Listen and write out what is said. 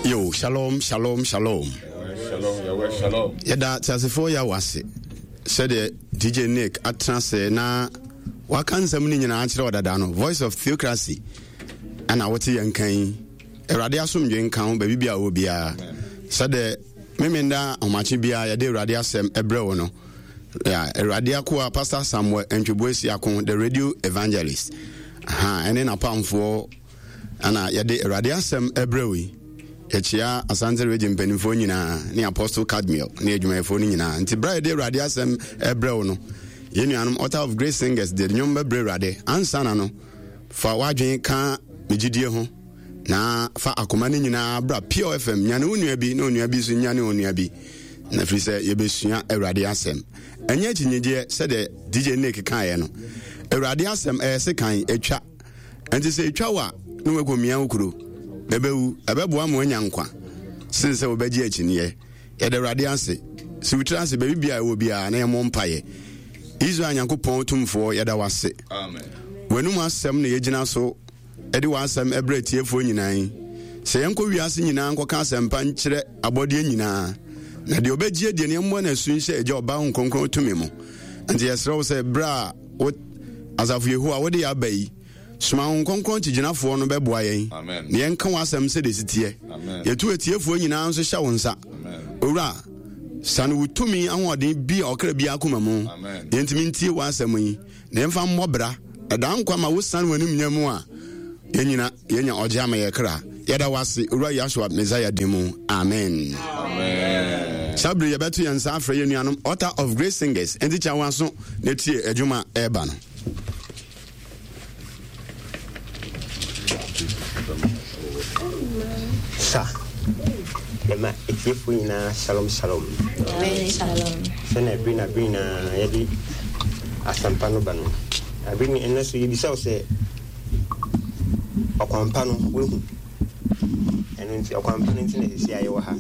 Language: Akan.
Yo, shalom, shalom, shalom. Shalom, Yahweh, shalom. Yɛda teasefoɔ Yahweh ase sɛdeɛ DJ Nick atena ase na waka nsɛm no nyinaa akyerɛ ɔdada no. Voice of Theocracy ɛna wote yɛn kan yi. Awurade asomdwe nka ho baabi biara wɔ biara. Sɛdeɛ memenda ahomakye biara yɛde Awurade asɛm ɛbrɛ wo no. Awurade akoa Pastor Samuel Ntweboasi Ako, the radio evangelist. Aha, ɛne n'apamfoɔ Ana yɛde Awurade asɛm ɛbrɛ wo yi. Yɛkyea Asante Region mpanimfoɔ nyinaa ne Apostle Cadmiel ne adwumayɛfoɔ no nyinaa. Nti berɛ a yɛde Awurade asɛm ɛbrɛ wo no, yɛn nuanom Altar of Grace Singers de nnwom bɛbrɛ Awurade. Ansa na no, fa w'adwene ka me gyidie ho na fa akoma no nyinaa bra Pure FM. Nyane wo nua bi na onua bi nso nyane onua bi. Na firi sɛ yɛbɛsua Awurade asɛm. Ɛnyɛ akyinnyegyeɛ sɛdeɛ DJ Nick kaeɛ no. Awurade asɛm ɛyɛ sekan, ɛtwa. Enti sɛ etwa wo a, na woakomia wo kuro. Ɛbɛwu, ɛbɛboa ma woanya nkwa sen sɛ wobɛgye akyinnyeɛ. Yɛda Awurade ase. Si wo tiri ase baabi biara ɛwɔ biara na yɛmmɔ mpaeɛ. Israel Nyankopɔn Tumfoɔ, yɛda wo ase. W'anum asɛm na yɛgyina so de w'asɛm ɛbrɛ atiefoɔ nyinaa yi. Sɛ yɛnkɔ wiase nyinaa nkɔka asɛmpa nkyerɛ abɔdeɛ nyinaa, na deɛ ɔbɛgye adie no yɛmmɔ no asu nhyɛ Agya, Ɔba, Honhom Kronkron tumi mu. Enti yɛsrɛ wo sɛ berɛ a wo asafo Yehowa wode yɛ aba yi, soma Honhom Kronkron kyigyinafoɔ no bɛboa yɛn na yɛnka w'asɛm sɛdeɛ ɛsi teɛ. Yɛtu atiefoɔ nyinaa nso hyɛ wo nsa. Owura, sane wo tumi ahoɔden bi a ɔkra biara akoma mu. Yɛntumi ntie w'asɛm yi na yɛmfa mmɔ bra. Ɛdaa nkwa ma wosiane w'animnya mu a yɛnyina yɛnya ɔgye ama yɛ kra. Yɛda w'ase, Owura Yahshua Messiah din mu. Amen. Saa bere yɛbɛto yɛn nsa afrɛ yɛn nuanom Altar of Grace Singers. Enti kyɛ wɔn aso na tie adwuma a ɛreba no. Sa, Yɛma atiefoɔ nyinaa shalom shalom. Sɛnea bere na bere nyinaa yɛde asɛmpa no ba no, bere ne ɛnnɛ so yɛbisa wo sɛ ɔkwampa no woahu? Ɛno nti ɔkwampa no nti na sisi a yɛwɔ ha.